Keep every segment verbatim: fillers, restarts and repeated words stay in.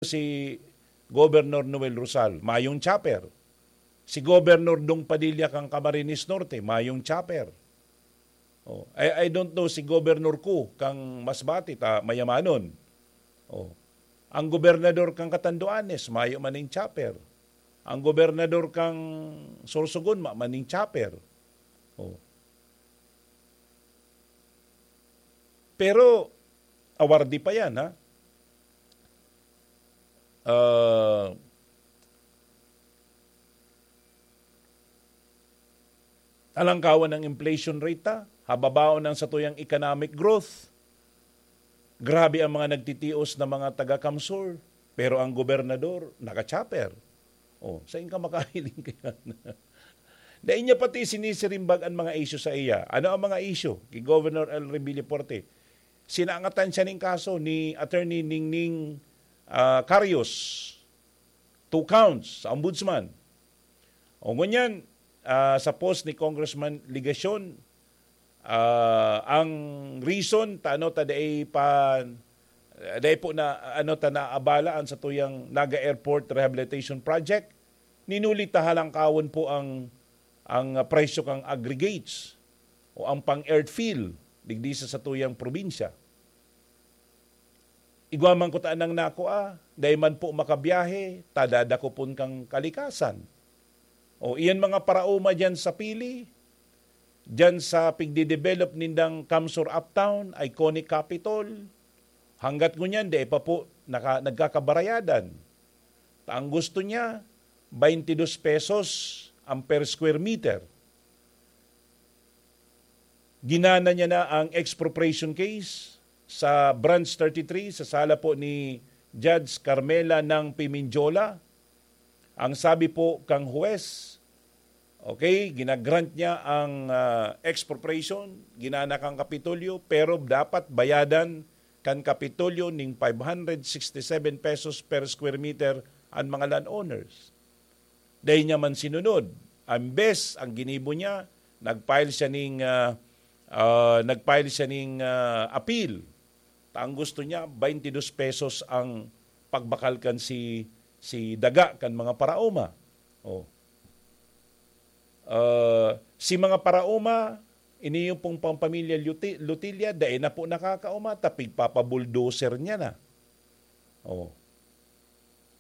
si Governor Noel Rosal, mayong chopper. Si Governor Dong Padilla kan Camarines Norte, mayong chopper. Oh, I, I don't know si Governor Koo kan Masbate, ta mayamanon. Oh. Ang gobernador kan Catanduanes, mayo man nin chopper. Ang gobernador kan Sorsogon, mayo man nin chopper. Oh. Pero, awardi pa yan, ha? Ah, talangkawan ang inflation rate ta, hababaon ang satuyang economic growth. Grabe ang mga nagtitios na mga taga-CamSur, pero ang gobernador, naka-chopper. Oh, saan ka makahiling kaya? Dai niya pati sinisirimbag an mga isyu sa iya. Ano ang mga isyu? Ki Governor El Revilla Porte, sinangatan siya ning kaso ni Attorney Ningning, ah, Carios. Two counts sa ombudsman. O ngunyan, ah, sa post ni Congressman Legacion, ah, ang reason ta ano ta dai pa, dai po na ano ta naabala an satuyang Naga Airport Rehabilitation Project, ninuli ta halangkawon po ang, ang presyo kang aggregates o ang pang-airfield digdi sa satuyang probinsya. Igwa man kuta nang nakua, dai man po makabiyahe, ta dadakopon kan kalikasan. O iyan mga paraoma diyan sa Pili, diyan sa pigde-develop nindang CamSur Uptown, iconic Capitol, hanggat ngunyan dai pa po naka-, nagkakabarayadan. Ta ang gusto niya, twenty-dos pesos ang per square meter. Ginana niya na ang expropriation case sa Branch thirty-three, sa sala po ni Judge Carmela ng Pimenjola. Ang sabi po kang huwes, okay, ginagrant niya ang, ah, expropriation, ginana kang Kapitolyo, pero dapat bayadan kan Kapitolyo ning five hundred sixty-seven pesos per square meter an mga landowners. Dai niya man sinunod. Ambes, ang ginibo niya, nag-file siya ning, ah, ah, nag-file siya ning, ah, appeal. Ta ang gusto niya, twenty-dos pesos ang pagbakal kan si, si daga kan mga paraoma. Oh. Ah, si mga paraoma, ini yung pong pang pamilya Luti-, Lutilla, dai na po nakakaoma, ta pigpapa-bulldozer niya na. Oh.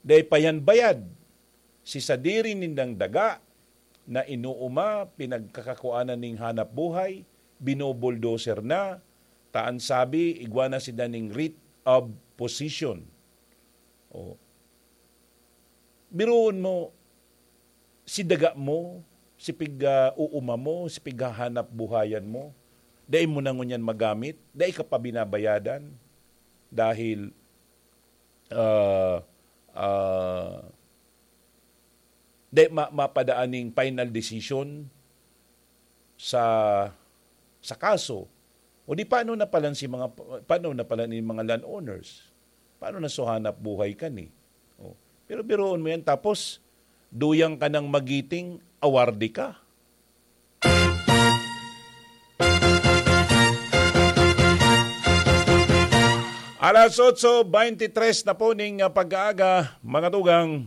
Dai pa yan bayad. Si sadiri nindang daga na inuuma, pinagkakakuanan ning hanap buhay, binobulldozer na, ta an sabi, igwa na sinda ning writ of possession. Oh. Biruon mo, si daga mo, si pig-, ah, uuma mo, si pighahanap buhayan mo, dai mo na ngunyan magamit, dai ka pa binabayadan, dahil, ah, ah, dai ma-, mapadaan ning final decision sa, sa kaso. O di, paano na pala si mga, paano na pala ni mga landowners? Paano na so hanap buhay kani? Oh. Pero biruon mo yan, tapos duyang ka ng magiting, awarde ka. Alas otso beintitres na po ning, ah, pag-aaga, mga tugang.